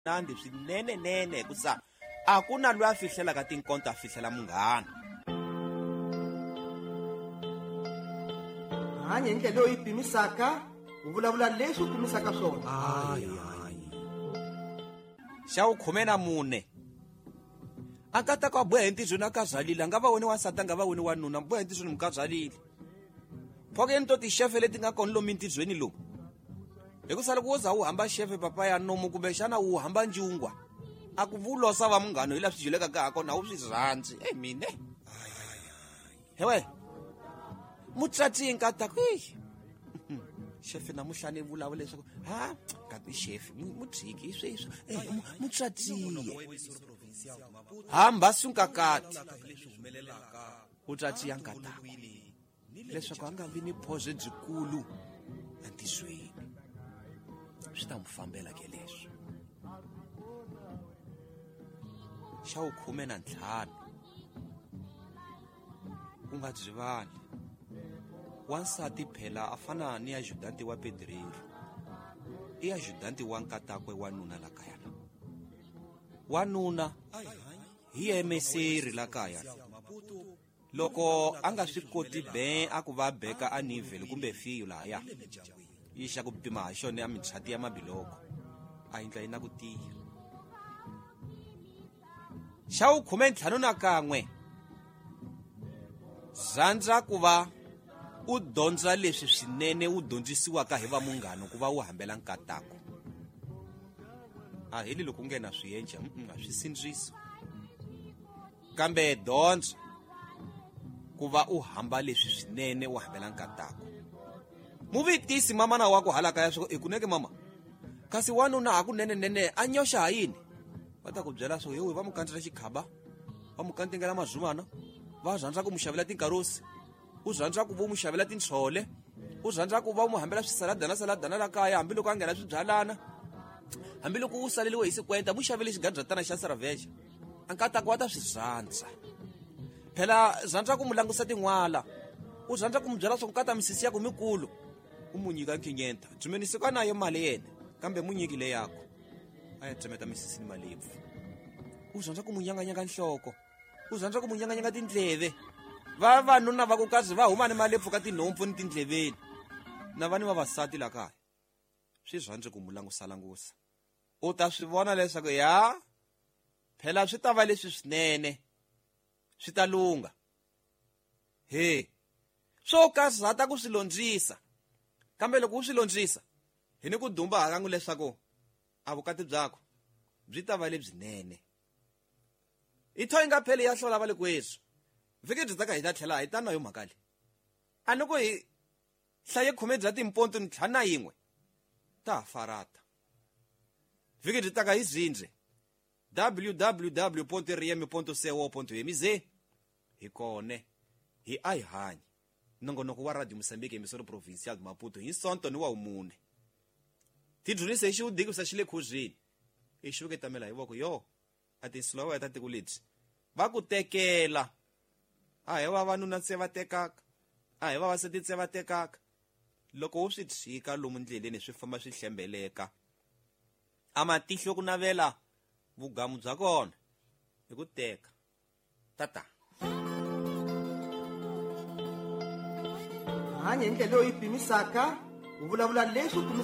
Nandi swinenenene hikusa a ku na loyi a fihlelaka tinkonto a fihlela munghana. Hanya hi ndlela leyi u yi pimisaka, u vulavula leswi u pimisaka swona. Xa vukhume na mune a nkatako a boha entirhweni a kazalile, a nga va woni wansati, a nga va woni wanuna, boha entirhweni mukazalile. Phokeni to tixefe leti nga kona lomu entirhweni lomu, hikusa loko wo za wu hamba xefe papa ya nomu kumbexana wu hamba njungwa, a ku vulosa va munghano hi laha swi dyelekaka ha kona, a wu swi rhandzi. Ei mine hewe mutswatsi nkatako eyi xefe namuhla ni vulavula leswaku ha kati xefe mutshiki hi sweswo mutswatsiye hamba sunkakati u tswatsiya nkatako leswaku a nga vi ni phozo byikulu entisweni, swi ta n'wi fambela ke leswi. Xa vukhume na ntlhanu u nga byivali wansati phela a fana ni ajudanti wa pedrero, i ajudanti wa nkatakwe wanuna la kaya la wanuna hi emeseri la kaya loko a nga swi koti be a ku va beka a nivhele kumbe fiyo lahaya yi xa ku pima ha xona ya mitshati ya mabiloko a yindla yi na ku tiya. Xa vukhume ntlhanu na kan'we rhandza ku va u dyondza leswi swinene u dyondzisiwaka hi va munghano ku va u hambela nkatako. A heli loko u nghena swi endla, a swi sindzisi, kambe dyondza ku va u hamba leswi swinene u hambela nkatako. Muvitisi mamana wa ku hala kaya swo i kuneke mama, kasi wanuna hakunenenene a nyoxa ha yini? Va ta ku byela swo yowe va mu kandzela xikhaba, va mu kandzingela mazumana, va rhandza ku mu xavela tinkarosi, u rhandza ku vo mu xavela tintshole, u rhandza ku va mu hambela swisaladana saladana la kaya hambiloko a nghena swibyalana, hambiloko u saleliwe hi sikwenta mu xavele xigadyatana xa saraveja, a nkatako wa ta swi rhandza. Phela rhandza ku mu langusa tin'wala, u rhandza ku mu byela swa ku kata misisi ya ku mikulu, u mu nyika nkhinyenta dzumeni siku a nayo mali yena kambe mu nyiki le yako a ya tsemeta misisi ni malebvu. U rhandza ku mu nyanganyanga nhloko, u rhandza ku mu nyanganyanga tindleve. Vavanuna va ku kazi va huma ni malebvu ka tinhompfu ni tindleveni, na va ni vavasati la kaya swi rhandze ku mu langusalangusa. U ta swi vona leswaku ya phela swi ta va leswi swinene, swi ta lungha. He swo karhata ku swi londzisa, kambe loko u swi londzisa hi ni ku dumba hakangu leswaku a vukati byakho byi ta va lebyinene. I tho yi nga pheli ya hlola va le kweswi vhiki byi taka hi ta tlhela hi ta na yo mhaka leyi. A ni ku hi hlaye khume bya timponto ntlhanu na yin'we ta ha farata. Vhiki byi taka hi zindze www.rm.co.mz hi kone hi a hi hanyi nongonoko wa Radio Mozambique emisoro provincial de Maputo hi Sonto ni wa wumune. Tidyondzise hi xiwudikisa xi le khuzini i xuketamela hi voko yo a tinsulavoya ta tiko lebyi va ku tekela. A hi vavanuna se va tekaka, a hi vavasati se va tekaka. Loko u swi tshika lomu ndleleni swi famba swi hlembeleka, a matihlo ku navela vugamu bya kona hi ku teka. Tata hanya hi ndlela leyi u yi pimisaka, u vulavula leswi u pimisaka.